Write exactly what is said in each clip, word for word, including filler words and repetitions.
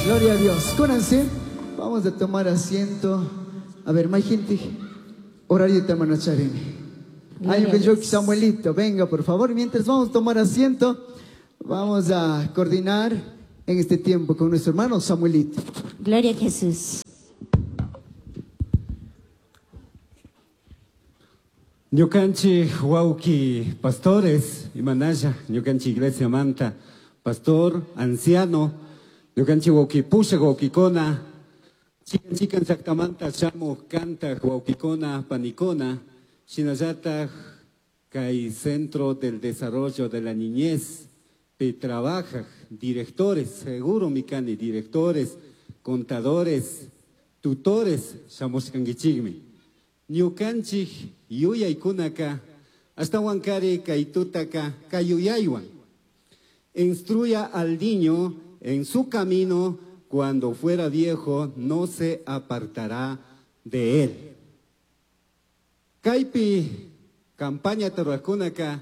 Gloria a Dios. Cónanse. Vamos a tomar asiento. A ver, más gente. Horario tamanacharene. Ay, yo Samuelito, venga por favor. Mientras vamos a tomar asiento, vamos a coordinar en este tiempo con nuestro hermano Samuelito. Gloria a Jesús. Ñukanchik wawki pastores imanalla ñukanchik iglesia manta pastor anciano ñukanchik wawki pushak wawkikuna chikan chikan llaktamanta shamuj kantak wawkikuna panikuna shinallataj kay Centro del Desarrollo de la Niñez pi trabajaj directores seguro mikani directores contadores tutores shamushkankichikmi ñukanchik yuyaykunaka ashtawankari kay tutaka kay yuyaywan instruya al niño en su camino, cuando fuera viejo no se apartará de él. Kaypi campaña tarwakunaka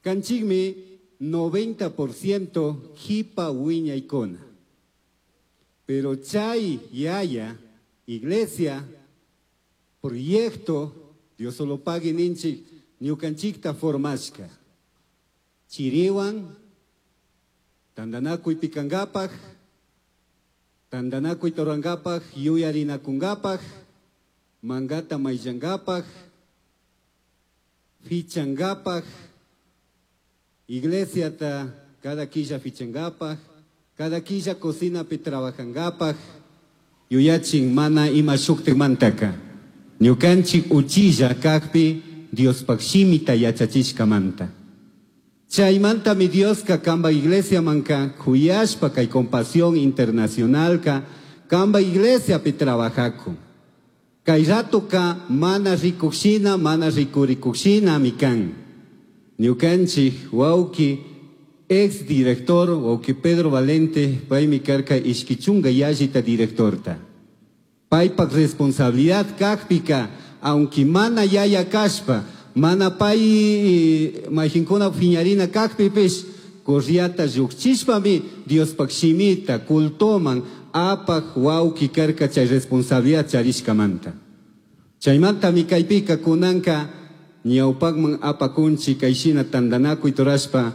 kanchikmi noventa por ciento jipa wiñaykuna. Pero chay yaya iglesia proyecto Dios solo pague ninchik ñukanchikta formashka. Chiriwan tandanakuy pikankapaj, tandanakuy torankapaj, yuyarinakunkapaj, mangata mayllankapaj, fichankapaj, iglesiata cada quilla fichankapaj, cada quilla cocinapi trabajankapaj, yuyachin mana ima shuktikmantaka. Ñukanchik uchilla kakpi Diospaj shimita yachachishkamanta. Chaymanta mi Dioska kamba iglesia manka kuyashpa kay Compasión Internacionalka kamba iglesia pi trabajaku. Kay ratuka mana rikushina mana rikurikushina mikan. Ñukanchik wawki ex director wawki Pedro Valente paymi karka ishkichunga yallita directorta. Paypak responsabilidad kakpika aunque mana yaya kashpa mana pay majinkuna fiñarina kakpipish corriata llukchishpami Diospaj shimita cultoman apaj wawki karka chay responsabilidad charishkamanta. Chaymantami kaypika kunanka ñawpakman apakunchi kayshina tandanakuy turashpa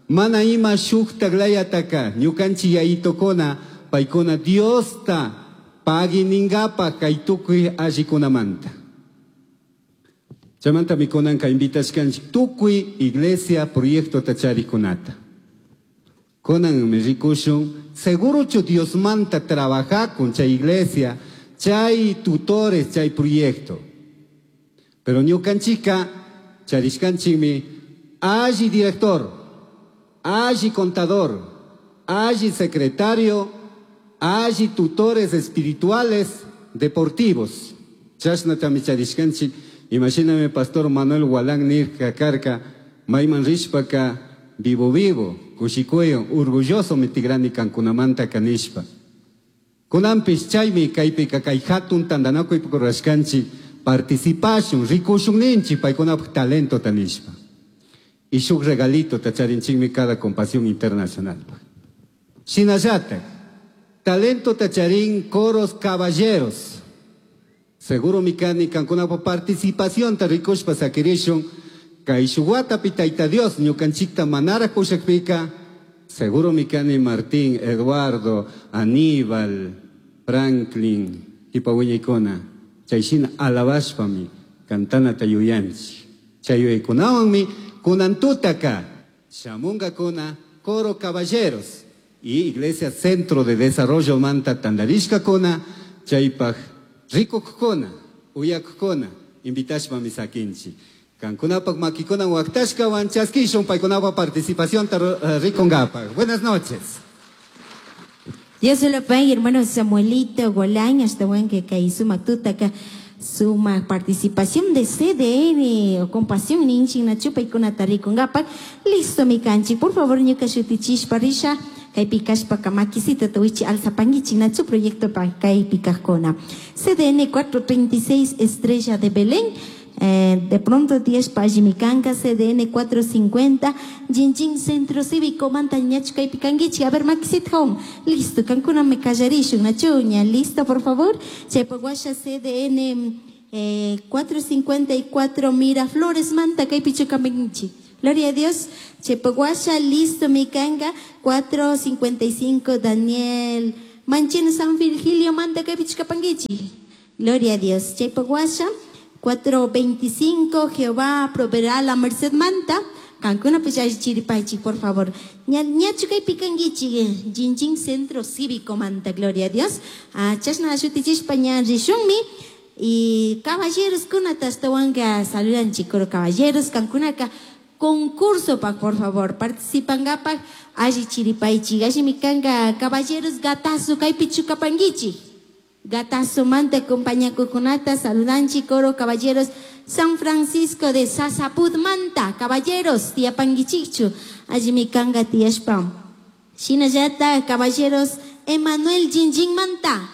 mana ima shuktak layataka ñukanchik yayitokuna paykuna Diosta paginingapaj kay tukuy allikunamanta. Chaymanta mikunanka invitashkanchik tukuy iglesia proyecto tacharikunata. Kunan mi rikushun segurochu Diosmanta trabajakun chay iglesia, chay tutores, chay proyecto. Pero ñukanchika charishkanchikmi alli director, alli contador, alli secretario, alli tutores espirituales deportivos. Chashnatami charishkanchik. Imagíname pastor Manuel Gualán nirka karka mayman rishpaka vivo vivo kushikuyo orgulloso mitigrani kankunamanta kanishpa. Kunanpis chaymi kaypika kay hatun tandanakuy rurashkanchik participashun rikushun ninchik paykunapaj talento tanishpa. Y shuk regalito tacharinchikmi cada Compasión Internacional. Shinallatak talento tacharín coros caballeros. Seguro mikani kankunapa participación ta rikushpa sakirishun kay shuwatapi tayta Dios ñukanchikta manara kushakpika seguro mikani Martín, Eduardo, Aníbal, Franklin kipa wiñaykuna chayshina alabashpami kantanata yuyanchik chay yuyaykunawanmi kunantutaka shamunkakuna coro caballeros y Iglesia Centro de Desarrollo manta tandarishkakuna chaypaj rikukkuna, uyakkuna, invitashpami sakinchik. Kankunapaj makikuna waktashkawan chaskishun paykunapa participación rikunkapaj. Buenas noches. Dios se lo pague, hermano Samuelito Golán, hasta buen que kay sumak tutaka suma participación de C D N o Compasión ninchik nachu paykunata rikunkapaj. Listo mi kanchik, por favor ñuka shutichishpa risha. Kaypi kashpaka makisita tuwichi alzapangichik nachu proyecto pa kaypi kajkuna. C D N cuatro treinta y seis Estrella de Belén. Eh, de pronto tiyashpa allimi kanka C D N cuatro cincuenta Jinjin Centro Cívico manta ñachu kaypi kankichik. A ver, makisita hawan. Listo, kankunami kallarishun, nachu ña listo, por favor. Chaypak washa C D N eh, cuatro cincuenta y cuatro Miraflores manta kaypichu kankichik. Gloria a Dios. Chaypak washa listo mi kanka cuatro cincuenta y cinco Daniel Manchino San Virgilio manta kaypichu kapankichik. Gloria a Dios. Chaypak washa cuatro veinticinco Jehová proveerá la Merced manta. Kankuna chiripaychik, por favor. Ña ñachu kaypi kankichik Jinjin Centro Cívico manta, gloria a Dios. Ah, chashna shutichishpa ña rishunmi. Y caballeros kunata ashtawanka saludanchik, coro caballeros kankunaka concurso pa, por favor, participankapaj alli chiripaychik. Allimi kanka caballeros gatazo kaypichu kapankichik. Gatazo manta compañakukunata saludanchik, coro caballeros San Francisco de Sasaput manta, caballeros tiyapankichikchu. Allimi kanka tiyashpa. Shinallata caballeros Emanuel Jinjin manta.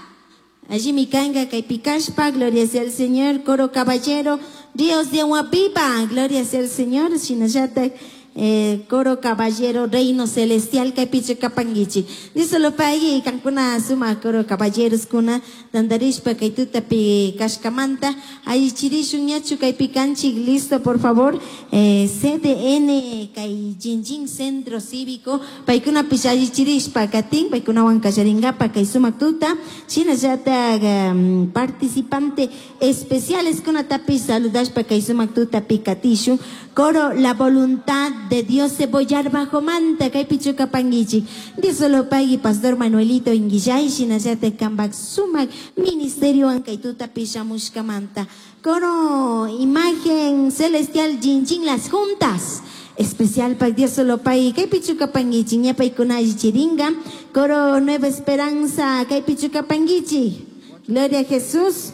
Allimi kanka kaypi kashpa, gloria sea al Señor, coro caballero, Dios de agua viva, gloria sea al Señor, shinallata eh, coro caballero, reino celestial, kaypichu kapankichik. Dios lo pague, kankuna suma coro caballeros kuna, tandarishpa kay tutapi kashkamanta, allichirishun ñachu kaypi kanchik, listo, por favor, eh, C D N kay Jinjin Centro Cívico, paykunapish allichirishpa katin, paykunawan kallaringapa kay sumak tuta, shinallata um, participante especiales kunatapish saludashpa kay sumak tutapi katishun, coro La Voluntad de Dios Cebollar Bajo manta, kaypichu kapankichik. Dios lo pague, Pastor Manuelito Inguillay, shinallata kambak sumak ministerio kay tutapi shamushkamanta. Coro Imagen Celestial Jinjin Las Juntas. Especial pa Dios lo pague, kaypichu kapankichik, ña paykuna allichiringa. Coro Nueva Esperanza, kaypichu kapankichik. Gloria a Jesús.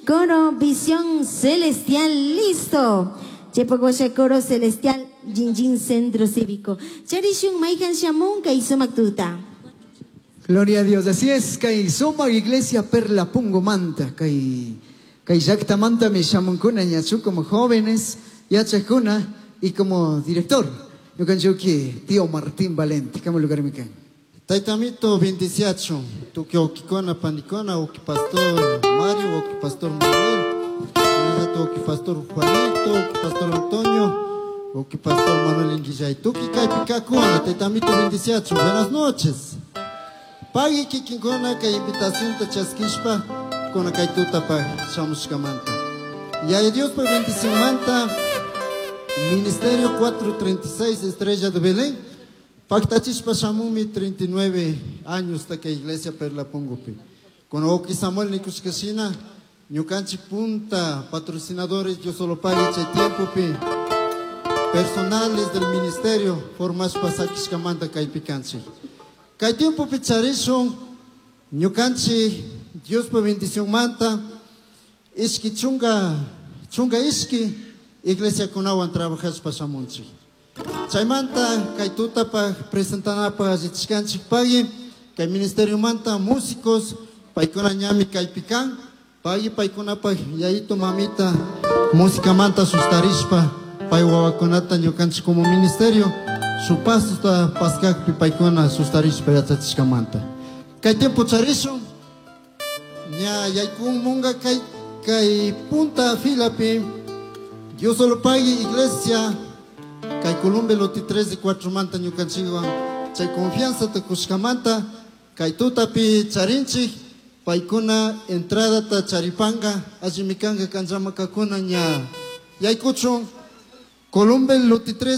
Coro Visión Celestial, listo. Chaypak Coro Celestial, Jinjin Centro Cívico. Charishun mayhan shamun kay sumak tuta. Gloria a Dios. Así es, kay sumak iglesia Perla Pungo manta, kay kay llakta manta mi shamunkuna ñachu como jóvenes, yachakuna y como director. Ñukanchik tío Martín Valente, kama lugar mi kan. Taytamito bendiciachun, tukuy wawkikuna panikuna, wawki pastor Mario, wawki pastor Manuel, wawki pastor Juanito, wawki pastor Antonio, wawki pastor Manuel Inguillay, tukuy kaypi kajkuna, taytamito bendiciachun, buenas noches. Pagui kikinkuna kay invitación ta chaskishpa, kuna kay tutapa shamushkamanta. Yaya Dios por bendición manta, Ministerio cuatrocientos treinta y seis Estrella de Belén, paktachishpa shamumi treinta y nueve años ta kay iglesia Perla Pungupi. Con wawki Samuel nikushkashina, ñukanchik punta patrocinadores Dios solo pague chay tiempopi, personales del ministerio formashpa sakishkamanta kaypi kanchik. Kay tiempopi charishun ñukanchik Diospa bendición manta ishki chunga chunga ishki iglesia kunawan trabajashpa shamunchik. Chaymanta kay tutapaj presentanapaj allichishkanchik pagui kay ministerio manta músicos paykuna ñami kaypi kan pagui paykunapaj yayito mamita música manta sustarishpa pay wawakunata ñukanchik como ministerio su pasto paskakpi paykuna sustarishpa yachachishkamanta. Kay tiempo charishun ña yaykumunga kay kay punta filapi Dios solo pague iglesia kay Colombia lote tres de cuatro manta ñukanchikwan chay confianza ta kushkamanta kay tutapi charinchik paykuna entrada ta charipanga allimi kanga kanllamakakuna ña yaykuchun Colombia lote tres.